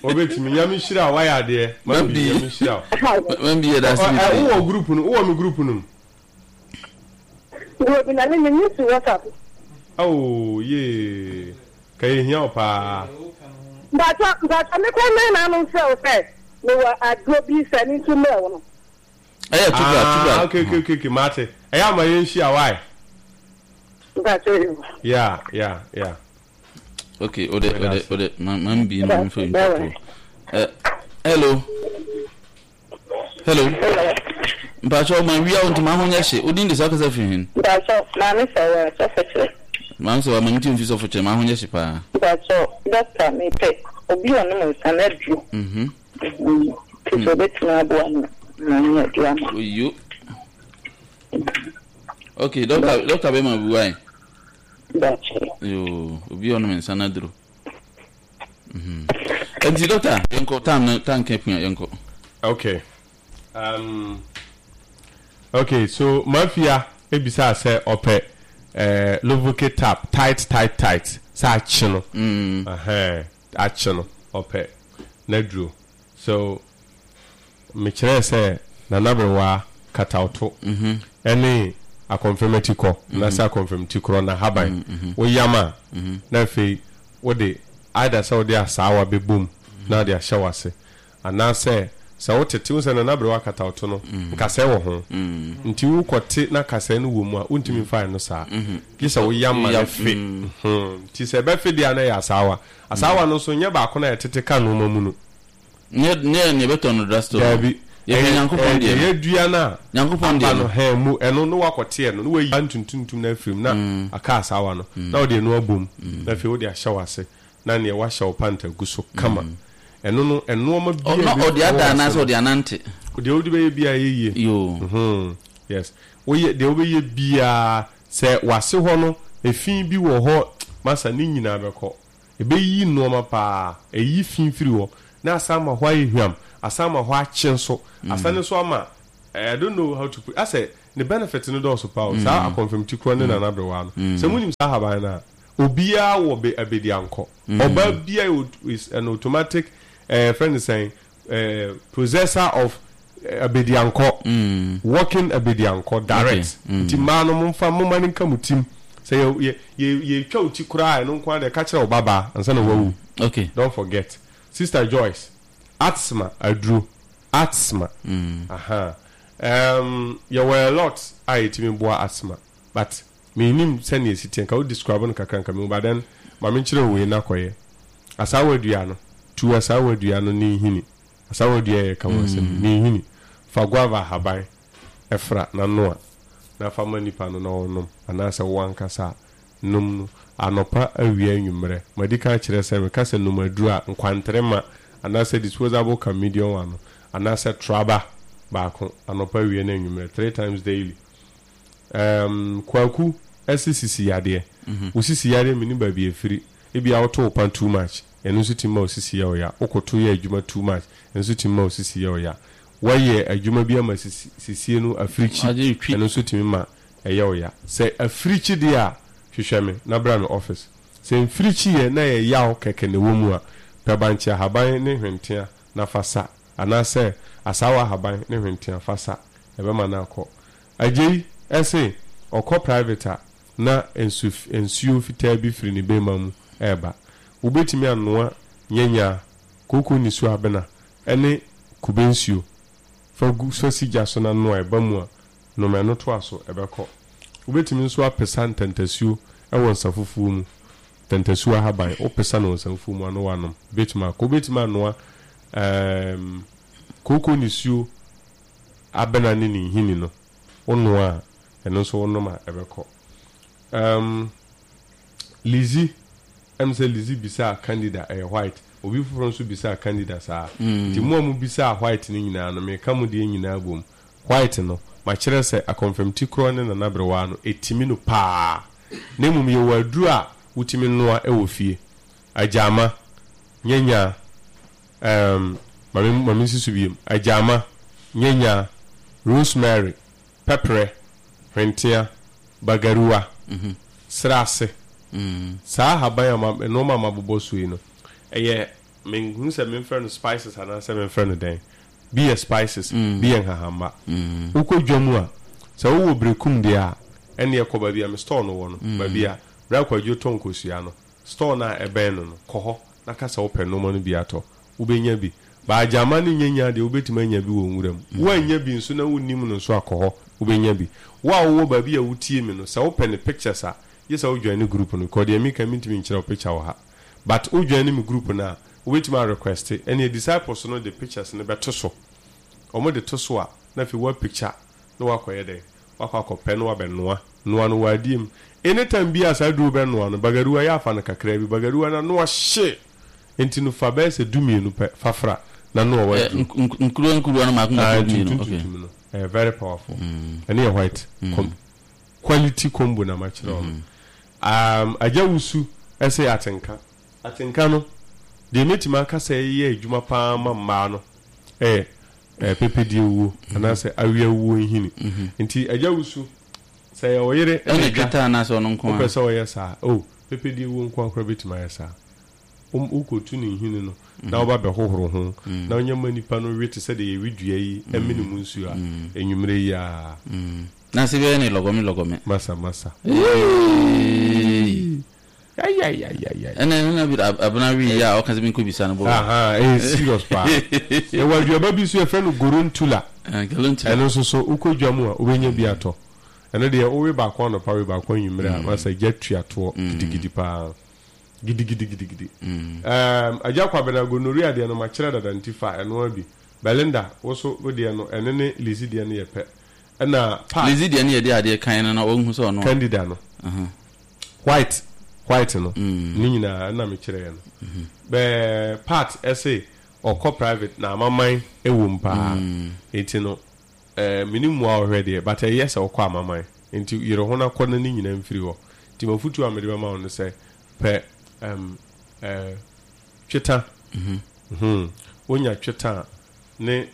Obɛtumi Nyame nhyira wo wayɛ adeɛ Mambi Nyame nhyira wo. Mambi yɛ daase bebree. Wowɔ group no wowɔ me group no mu. Wɔ bi na me me su WhatsApp. Oh yee ka yɛ hia wo paa. Mpatsɔ mpatsɔ me kɔ nan na ano nfrɛ wo sɛ me wɔ aduro bi sɛ ne nso mmerɛ wo no. Ɛyɛ tubra tubra. Ah okay okay okay okay mate ɛyɛ ama yɛn hyia why. Mpatsɔ yi. Yeah yeah yeah. Okay ode ode ode ma ma mbi no mfa ntwa to. Hello. Hello. Mpatsɔ ma wia wo ntoma ho nyɛ hye. Odin de sɛ ɔkasa firi hin? Mpatsɔ maame sɛ wɔ sɔfo kyerɛ. Maame sɛ wɔ ma nti mfi sɔfo kyerɛ ma ho nyɛ hye paa. Mpatsɔ dɔkta mepɛ obi a ɔnom nsa na aduro. Mhm. Nti sɛ obetumi aboa me na nyɛ aduro ama. Oyo. Okay, dɔkta dɔkta bɛma bi wae. Dakyɛ. Yo, obi a ɔnom nsa na aduro. Mhm. Nti dɔkta yɛnkɔ tam no tanka pua yɛnkɔ. Okay. Um, okay, so mafia ebisa sɛ ɔpɛ eh, Lovoke tap tight tight tight sɛ akye no. Mm. Ɛhɛn, akye no ɔpɛ n'aduro. So mekyerɛɛ sɛ nanaberewa katawto ɛne akɔmfɛmati kɔ anaasɛ akɔmfɛmati korɔ na haban woyam a na afei wode either sɛ wode asaawa bɛbom na wode ahyɛ w'ase anaasɛ sɛ wotete wo sɛ nanaberewa katawto no nkasɛɛ wɔ ho nti wokɔte na kasɛɛ no wɔ mu a wontumi mfa ɛno saa gye sɛ woyam ma no fe nti sɛ ɛbɛfe deɛ a na ɛyɛ asaawa asaawa no nso nyɛ baako na yɛtete ka nnoɔma mu no Nyɛ nyɛ nea ɛbɛtɔ no drugstore no. Daabi. Yɛpɛ Nyankopɔn deɛ no. Ɛyɛ dua no a Nyankopɔn deɛ aba no. no hɛn mu ɛno na wakɔte ɛno na wayi ntuntuntum no afiri mu na aka asaawa no na wode ɛno abom na afei wode ahyɛ w'ase na neɛ wahyɛ wo pant agu so kama ɛno no ɛnoɔma Ɔ- bi na ɔde ada anaasɛ ɔde anante. Deɛ wode bɛyɛ biara yɛ yie. Yoo. Mhm. Yes. Woyɛ deɛ wobɛyɛ biara sɛ wase hɔ no efi bi wɔ hɔ masa ne nyinaa bɛkɔ. Ɛbɛyi nnoɔma paa. Ɛyi fi firi hɔ na asan ama hɔ ayɛ hwam, asan ama hɔ akye nso, asan nso ama I don't know how to put asɛ ne benefit no dɔɔso paa o. Saa akɔnfɛmti korɔ ne Nana Aberewa no. Sɛ monim saa ahaban no a, obiara wɔ be abɛdiankɔ. Ɔbaa biara is an automatic eh, yɛfrɛ no sɛn, eh, possessor of Abediankɔ, walking Abediankɔ direct. Nti mmaa no momfa momma no nka mo tim. Sɛ yɛ yɛ yɛ yɛtwa wo ti koraa a ɛno nko ara deɛ ka kyerɛ wo babaa ansa na wawu. Okay. Don't forget. Sister Joyce, asthma aduro, asthma. Aha. Um, yɛwɔ a lot a yɛtumi boa asthma but mennim sɛnea ɛsi teɛ nka wo describe no kakra nka mehu but then ma menkyerɛ wo wei na kɔyɛ. Asaawa dua no, tu asaawa dua no ne nhini. Asaawa dua a yɛreka ho asɛm yi, ne nhini. Fa guava ahaban fra na noa, na fa ma nipa no na ɔnnom, anaasɛ wo ankasa nom no anɔpa, awia, anwummerɛ. Madi kan akyerɛ sɛ meka sɛ nom aduro a, nkwantere ma, anaasɛ disposable cup medium one no, anaasɛ traba baako anɔpa, awia ne anwummerɛ, three times daily. Ɛɛm, Kwaku se sisi yadeɛ. Wo sisi yadeɛ mennim baabi a ɛfiri. Ebia woto wo pa too much, ɛno nso tumi ma wo sisi yɛ wo ya. Wokoto yɛ adwuma too much, ɛno nso tumi ma wo sisi yɛ wo ya. Woayɛ adwuma bi ama sisi sisie no afirikyi, ɛno nso tumi ma ɛyɛ wo ya. Sɛ afirikyi deɛ a, hwehwɛ me na bra me office. Sɛ mfirikyi yɛ na ɛyɛ yaw kɛkɛ na ɛwɔ mu a, pɛ bankye ahaban ne hwentea na fa sa, anaasɛ asaawa ahaban ne hwentea fa sa, ɛbɛma no akɔ. Agyei se ɔkɔ private a, na nsu nsuo fitaa bi firi ne bɛmma mu reba. Wobɛtumi anoa nyanyaa, kooko nisuo abena ne kube nsuo. Fa gu fa si gya so na noa, ɛba mu a, nom ɛno toa so, ɛbɛkɔ. Wobɛtumi nso apesa ntantasuo wɔ nsa fufuo mu, ntantasuo ahaban, wopesa no wɔ nsa fufuo mu a na woanom, ɛbɛtumi akɔ. Wobɛtumi anoa ɛɛm kooko nisuo abena ne ne nhini no, wonoa a, ɛno nso wonom a ɛbɛkɔ. Um, Lizzy, ɛm sɛ Lizzy bisaa Candida, ɛyɛ white. Obi foforɔ nso bisaa Candida saa. Mm. Nti mo a mobisaa white no nyinaa no, meka mo deɛ nyinaa bom. White no, makyerɛ sɛ akɔmfɛmti korɔ ne Nana Berewaa no, ɛtimi no paa. Na mmom yɛwɔ aduro a wotumi noa wɔ fie. Agyaama, nyanyaa, um, ma me, ma mensi so biom. Agyaama, nyanyaa, rosemary, pɛprɛ, hwentea, bagaruwa, serase. Saa ahaban a ma, nnoɔma a mabobɔ so yi no, ɛyɛ, menhu sɛ memfrɛ no spices anaasɛ memfrɛ no dɛn. Bi yɛ spices, bi yɛ nhahamma. Wokɔ dwa mu a, sɛ wowɔ berekum deɛ a, ɛnneɛ kɔ baabi a me store no wɔ no, baabi a Bra Kwadwo tɔ nkosua no, store no a ɛbɛn no no, kɔ hɔ na ka sɛ wopɛ nnoɔma no bi atɔ. Wobɛnya bi. But agyama ne nyanya deɛ wobɛtumi anya bi wɔ nwura mu. Woannya bi nso na wonnim no nso a kɔ hɔ, wobɛnya bi. Wo a wowɔ baabi a wotie me no, sɛ wopɛ ne pictures a, gye sɛ wo joine group no because deɛ meka yi mentumi nkyerɛ wo picture wɔ ha. But wo joine me group no a, wobɛtumi a request, ɛneɛ disciples no de pictures no bɛto so. Wɔde to so a, na afei woa picture na woakɔyɛ dɛn? Woakɔ akɔpɛ na woabɛnoa. Noa no wɔ adeɛ mu. Anytime biara a saa aduro bɛnoa no, bagaruwa yɛ afa no kakraa bi. Bagaruwa no ano ɔhye. Enti no fa bɛyɛ sɛ du mmienu pɛ fa fra na noa w'aduro. Nkuruwa nkuruwa no mako mako du mmienu. Tuntum tuntum no. Ɛyɛ very powerful. Ɛno yɛ white. Quality combo na makyerɛ wo no. Um, Agya Wusu se atenka. Atenka no, deɛ mɛtumi aka sɛ ɛyɛ adwuma pa ara ma mmaa no yɛ pɛpɛdie wuo anaasɛ awia wuo nhini. Nti Agya Wusu, sɛ ɛyɛ wo yere na agya, dwetɛ anaasɛ ɔno nko wopɛ sɛ ɔyɛ saa, oh, pɛpɛdie wuo nko ara koraa bɛtumi ayɛ saa. Wokɔtu ne nhini no na woba bɛhohoro ho na wonya ma nipa no we te sɛ deɛ yɛwe dua yi mene mu nsuo a, anwummerɛ yi ara. Na se bɛyɛ ne lɔgɔme lɔgɔme. Masa masa. Eeii. Ayayayayay. Ɛna ɛna bi abena wi yi a ɔka sɛ menkɔ bisa no bɔ. Ahaa ɛyɛ serious paa. Yɛwɔ aduaba bi nso yɛfrɛ no gorontula. Gorontula. Ɛno nso so wokɔ dwa mu a wobɛnya bi atɔ. Ɛno deɛ wowe baako anɔpa we baako anwummerɛ a masa gya tua toɔ gidigidi paa. Gidigidigidigidi. Ɛɛm Agya Kwabena gonorrhea deɛ no makyerɛ dada nti fa ɛno ara bi. Belinda wo nso wo deɛ no ɛno ne Lizzy deɛ no yɛ pɛ. Ɛna Pat. Lizzy deɛ no yɛ deɛ adeɛ kan no na ɔnhu sɛ ɔno a. Candida no. White white no ne nyinaa ɛna mekyerɛɛ no. Bɛɛ Pat ɛse Ɔkɔ private na amaman ɛwɔ mu paa. Nti no ɛɛ mini mu a ɔhwɛ deɛ, but ɛyɛ sɛ ɔkɔ amaman. Nti yɛrɛ ho na kɔ na ne nyinaa mfiri hɔ. Nti mafutu a mede bɛma wo no sɛ pɛ ɛm ɛɛ tweta. Mhm. Wonya tweta a ne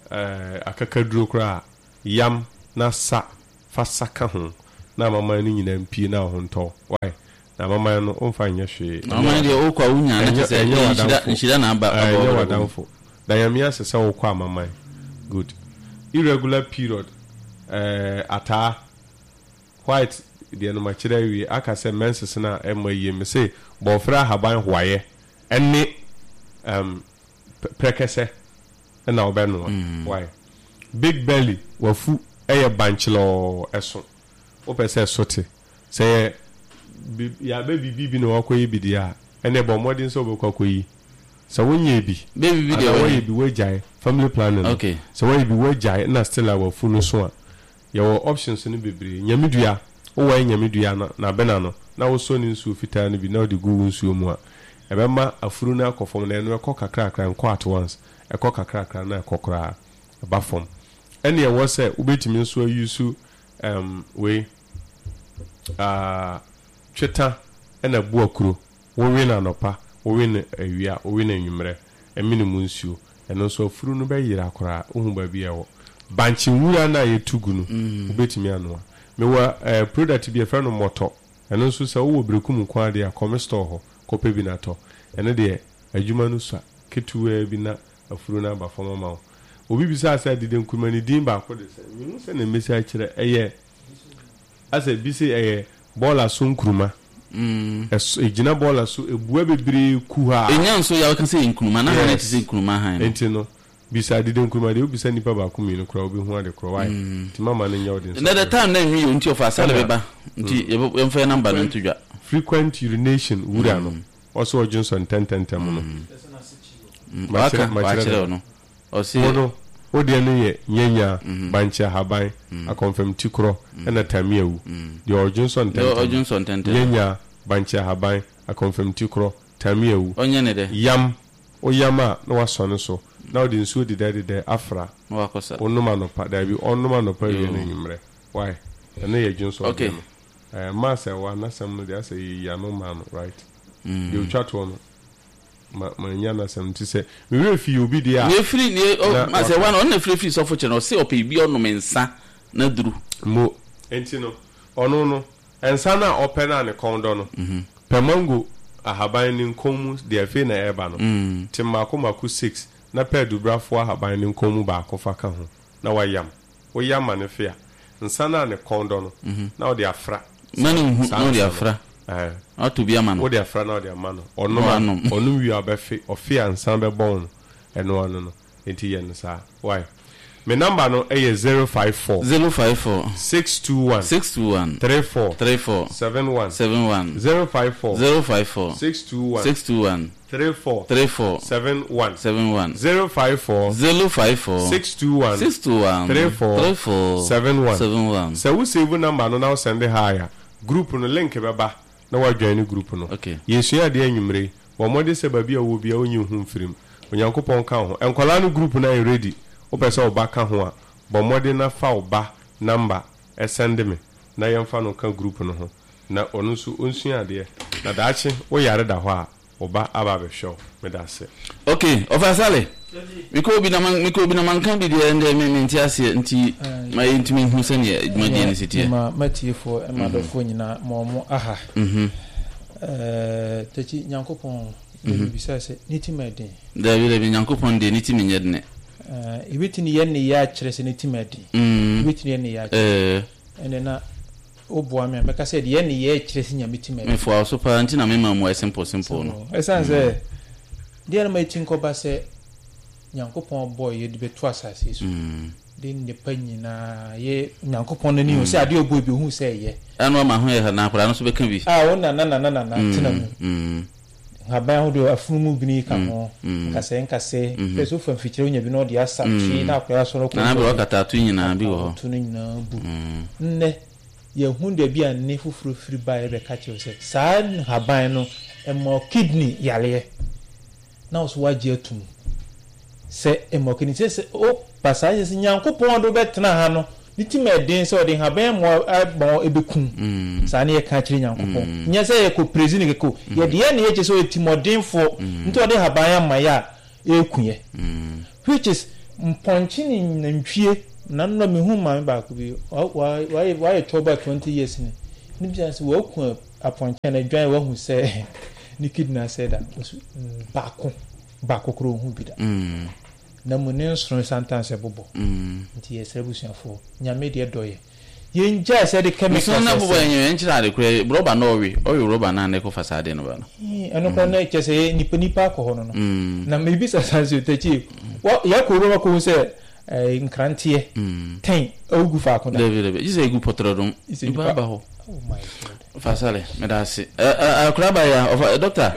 ɛɛ akakaduro koraa, yam na sa fa sa ka ho na amaman no nyinaa mpie na wo ho ntɔ. Why? Na amaman no ɔmfa nyɛ hwee. Amaman deɛ wokɔ a wonya na kyerɛ sɛ ɛnyɛ nhyira w'adamfo. Nhyira na aba aba Ɛnyɛ wɔ brabɔ mu. w'adamfo. Da Nyame ase sɛ wokɔ amaman. Good. Irregular period, ɛɛ ataa white deɛ no makyerɛ awie. Aka sɛ menses no a ɛmmɔ yie, me se bɔɔfrɛ ahaban hoayɛ ɛne um, prɛkɛsɛ ɛna wobɛnoa. Why? Big belly, wafu ɛyɛ bankyelɔɔ, ɛso wopɛ sɛ ɛso te sɛ yɛ bi- yɛabɛ biribi bi na wakɔyɛ bi deɛ a, ɛne bɔ mmɔden sɛ wobɛkɔ akɔyi sɛ wonyɛ bi. Baby bi deɛ anaa wɔyɛ. Wɔyɛ bi woagyae family planning no. Okay. Sɛ wɔyɛ bi woagyae na still a wafu no so a, yɛwɔ options no bebree. Nyame dua, wowɔyɛ nyame dua no n'abena no na wosɔ ne nsuo fitaa no bi na wode gu wo nsuo mu a, ɛbɛma afuru no akɔ fam. Na ɛno ɛkɔ kakrakra, nkɔ at once, ɛkɔ kakrakra na ɛkɔ koraa ɛba fam. Ɛne ɛwɔ sɛ wobɛtumi nso ayusu um, wei uh, tweta ɛna bu akuro. Wowe no anɔpa, wowe no awia, wowe no anwummerɛ, ɛmene mu nsuo. Ɛno nso afuru no bɛyera koraa. Wohu baabi a ɛwɔ bankye nwura no a yɛtu gu no, wobɛtumi anoa. Mewɔ eh, product bi yɛfrɛ no mɔtɔ. Ɛno nso sɛ wowɔ Berekum nko adeɛ a, kɔ me store hɔ kɔpɛ bi na tɔ. Ɛno deɛ adwuma no sua ketewaa bi na afuru no aba fam ama wo. Obi bisaa sɛ dede nkuruma ne din baako de sɛ mehu sɛ na mmesi akyerɛ ɛyɛ asɛ bi sɛ ɛyɛ bɔɔla so nkuruma. Ɛso egyina bɔɔla so ebua bebree kuhaa. Ɛnya nso yɛ woka sɛ yɛ nkuruma na han Yes. te sɛ nkuruma han no. Nti no bisa dede nkuruma deɛ, wobisa nipa baako mmienu koraa, wobɛhu ade korɔ. Wae, nti mama no nyɛ wo den. Na the time na nwi yɛ nti ɔfa asale Ɛna- bɛba nti yɛbɛ- yɛmfa yɛ number no nto dwa. Frequent urination, wura no ɔsɛ ɔdwe nsɔ ntɛntɛntɛm no. Waka Makyerɛ- makyerɛ wakyerɛ no. no ɔse Wo no wo deɛ no yɛ nyanya, bankye ahaban, akɔnfam ti korɔ ɛna tamiawu. Deɛ ɔdwe nsɔ deɛ ɔdwe ntɛntɛm, nsɔ ntɛntɛm, nyanya, bankye ahaban, akɔnfam ti korɔ, tamiawu. Ɔnyɛ ne dɛ. Yam, woyam a na wasɔ no so na wode nsuo dedɛdedɛ afra. Na wakɔsa. Wonom anɔpa, daabi, ɔnom anɔpa wie Yo. no anwummerɛ. Why? Ɛno yɛ dwonsɔ Okay. deɛ no. Ɛɛ maa sɛ wa n'asɛm no deɛ asɛ yɛyi ano maa no, right? Deɛ otwa toɔ no ma ma nya n'asɛm nti sɛ mewerɛ fi obi deɛ a ne efiri ne Na ɔ ma sɛ waka. wa na ɔno na efiri firi sɔfo kyerɛ no, ɔse ɔpɛ bi ɔnom nsa na duru. Mo nti no ɔno no nsa no a ɔpɛ no a ne kɔn dɔ no, pɛ mango ahaban ne nkɔn mu deɛ afei na ɛreba no, te mmaako mmaako six na pɛ adubrafoɔ ahaban ne nkɔn mu baako fa ka ho na wayam. Woyam ma ne fe a, nsa no a ne kɔn dɔ no na wode afra. Ma ne nhu. Saa Na ɔde nsa no. afra. Ɛɛ. Ɔtɔ bi ama no. Wode afra na wode ama no, ɔnom Na a wanom. Ɔnom wie a ɔbɛfe. Ɔfe a nsa bɛbɔn no, ɛno ano no. Nti yɛ no saa. Why? Me number no ɛyɛ zero five four zero five four six two one six two one three four three four seven one. seven one. zero five four zero five four six two one six two one three four three four seven one. seven one. zero five four zero five four six two one six two one three four three four seven one. seven one. Sɛ wo save number no na wo send hi a, group no link bɛba na woajoin ne group no. Okay. Yɛsua adeɛ anwummere. Bɔ mmɔden sɛ baabi a wɔ bia wonyi wo ho mfirim. Onyankopɔn ka wo ho. Nkwadaa no group no ayɛ ready. Wopɛ sɛ wo ba ka ho a, bɔ mmɔden na fa wo ba number ɛsend me na yɛmfa no ka group no ho na ɔno nso ɔnsua adeɛ na daakye woyare da hɔ a, wo ba aba abɛhwɛ wo. Meda ase. Ok, ɔfa sale mekɔ obi na man mekɔ obi na manka bi deɛ, ndɛ me mente aseɛ nti ma yɛntumi hu sɛneɛ dwumadie no si teɛ. Ma matiefoɔ, ma adɔfoɔ nyinaa, ma ɔmo aha. Mhm. Ɛɛ, takyi Nyankopɔn na bibisa sɛ ne ti ma ɛden? Dabi, dabi, Nyankopɔn deɛ ne ti menyɛ dene. Ɛɛ, ebɛtumi yɛ ne yɛ akyerɛ sɛ ne ti ma ɛden? Mm. Ebɛtumi yɛ ne yɛ akyerɛ? Ɛɛ. Ɛnɛ na woboa me a, mɛka sɛ deɛ ne yɛ kyerɛ sɛ Nyame ti ma ɛden. Mefoa wo so paa nti na mema mu simple simple no. Ɛsiane sɛ deɛ no ma ɛti nkɔba sɛ Nyankopɔn bɔɔ yɛ de bɛto asase yi so Mm. de nnipa nyinaa yɛ Nyankopɔn n'ani hu sɛ adeɛ ɔbɔ bi ohu sɛ ɛyɛ. Ɛno ama ho yɛ ha na akwadaa no nso bɛka bi. A wo nana nana nana tena mu. Mm. Nhaban ahodoɔ, afunumu bini ka ho, mm. nkasɛɛ nkasɛɛ pɛ sɛ wofa mfikyire wonya bi na ɔde asa twe na akwadaa sɔrɔ kɔ. Nana bɛ wakata ato nyinaa bi wɔ hɔ. To no nyinaa bu. Nnɛ yɛhu baabi a nne foforɔ firi ba yɛbɛka kyerɛ wo sɛ saa nhaban no ɛma kidney yareɛ na wo so woagye atum. Sɛ mmɔkini sɛ sɛ o basaa sɛ sɛ Nyankopɔn de wobɛtena ha no ne ti ma ɛden sɛ ɔde nhaban mmoa abɔn ɛbɛkum saa ne yɛka kyerɛ Nyankopɔn. Nyɛ sɛ yɛkɔ presi ne kɛkɛ o, yɛde yɛ ne yɛkyɛ sɛ ɔyɛ timɔdenfoɔ nti ɔde nhaban ama yɛ a ɛɛku yɛ, which is mpɔnkye ne nantwie. Na nnɔ mehu maame baako bi, wayɛ wayɛ twelve twenty years ni ne bisa sɛ waku apɔnkye na adwan, wahu sɛ ne kidney asɛe da baako baako koro ohu bi da na mu ne nsono sometimes ɛbobɔ. Nti yɛsrɛ busuafoɔ, Nyame deɛ dɔ yɛ, yɛngyae sɛ de chemicals. Nsono na bobɔ yɛn yɛn kyerɛ ade kora rɔba na ɔwe ɔwe rɔba na ne kɔfa saa de no ba no. Ɛno kora na kyerɛ sɛ nipa nipa akɔ hɔ no no na mebisa saa sɛ takyi yɛakɔ wura kɔhu sɛ nkranteɛ ten awugu faako da. Dabi dabi, gye sɛ egu pɔtɔrɔ dom nipa aba hɔ. Fasale, meda ase. Akora abaya ɔfa doctor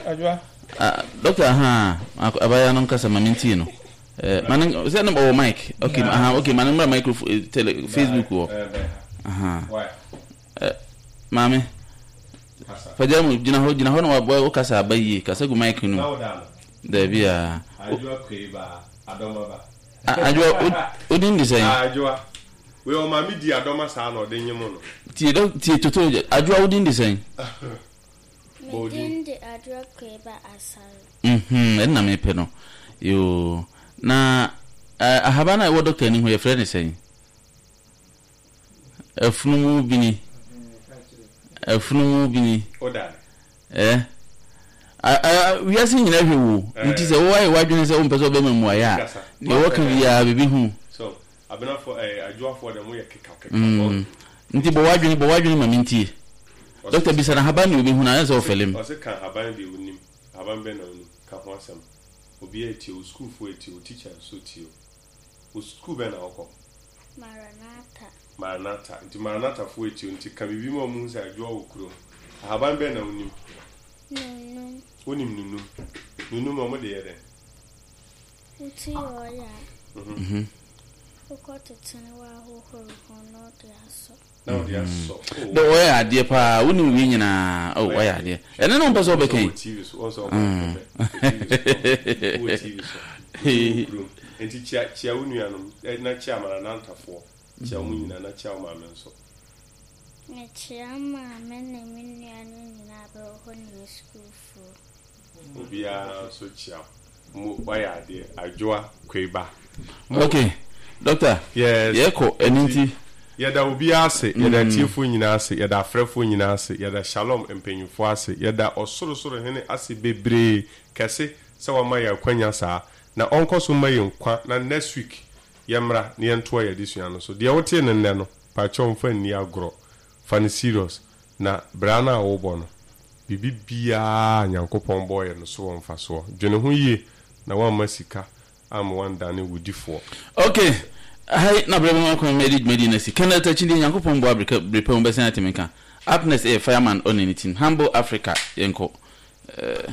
doctor ha abaya no nkasa ma mentie no. Mane sɛ ne ɔwɔ mic. Okay, aha, okay, mane mmra microphone tele Facebook wɔ. Aha. Maame fagya mu gyina hɔ gyina hɔ na wabɔ kasa aba yie, kasa gu mic no mu. Dabi a. Adwoa, odin de sɛn? Adwoa. Wei ɔmaame di adɔma saa na ɔde nyem no. Tie dɔ tie toto Adwoa, odin de sɛn? Me din de Adwoa Kweba Asare. Mhm, ɛnna mepɛ no. Yoo. Na ahaban a ɛwɔ dɔkta ni ho yɛfrɛ ne sɛn? Afunumu bini. Afunumu bini. Eh. Wiase nyinaa hwɛ wo nti sɛ woayɛ w'adwene sɛ wompɛ sɛ wobɛma mmuaeɛ a, deɛ wɔka biara biribi hu. Nti bɔ w'adwene bɔ w'adwene ma mentie. Dɔkta bisa no ahaban deɛ wobɛhu no ayɛ sɛ wɔfɛle m. Ɔse ka ahaban deɛ wonim, ahaban bɛn na wonim, ka ho asɛm. Obiara etie wo, sukuufoɔ etie wo, teacher nso tie wo. Wo sukuu bɛn na wokɔ? Maranatha. Maranatha. Nti Maranathafoɔ etie wo, nti ka biribi ma wɔn hu sɛ Adwoa wɔ kurom. Ahaban bɛn na wonim? Nunum. Wonim nunum? Nunum ɔmo de yɛ dɛn? Wotu yɛ ɔyɛ a, Mhm. wokɔ tete ne woahohoro ho na wode asɔ. Na wode asɔ. Dɛ wɔyɛ adeɛ paa, wonim wei nyinaa. Oh, wɔyɛ adeɛ. Ɛno ne wompɛ sɛ wobɛka yi. Wɔ T V so, wɔn sɛ ɔkɔ pɛpɛ. Wɔ T V so. Wɔ kurom. Nti kyia kyia wo nuanom na kyia Maranathafoɔ. Kyia wɔn nyinaa na kyia wo maame nso. Mekyia maame ne me nuanom nyinaa bɛwɔ hɔ ne me sukuufoɔ. Obiara nso kyia mo, wayɛ adeɛ Adwoa Kweba. Okay, doctor. Yes. Yɛkɔ ɛno nti. Yɛda obiara ase, yɛda atiefoɔ nyinaa ase, yɛda afrɛfoɔ nyinaa ase, yɛda Shalom mpanyinfoɔ ase, yɛda Ɔsorosoro Hene ase bebree kɛse sɛ wama yɛn akwanya saa, na ɔnkɔ so mma yɛn nkwa na next week yɛmmra na yɛntoa yɛn adesua no so. Deɛ wotee no nnɛ no, pakyɛw mfa nni agorɔ, fa no serious, na bra no a wobɔ no, biribi biara a Nyankopɔn bɔeɛ no so wɔ mfasoɔ. Dwene ho yie na woamma sika amma woandane wo difoɔ. Ok, ha yi na berɛ bɛma kwan ma yɛde dwumadie no asi. Kenneth Akyidie, Nyankopɔn boa bere bere pa mu bɛsan ate me nka. Up next ɛyɛ Fireman ɔne ne team. Humble Africa, yɛnkɔ. Eh.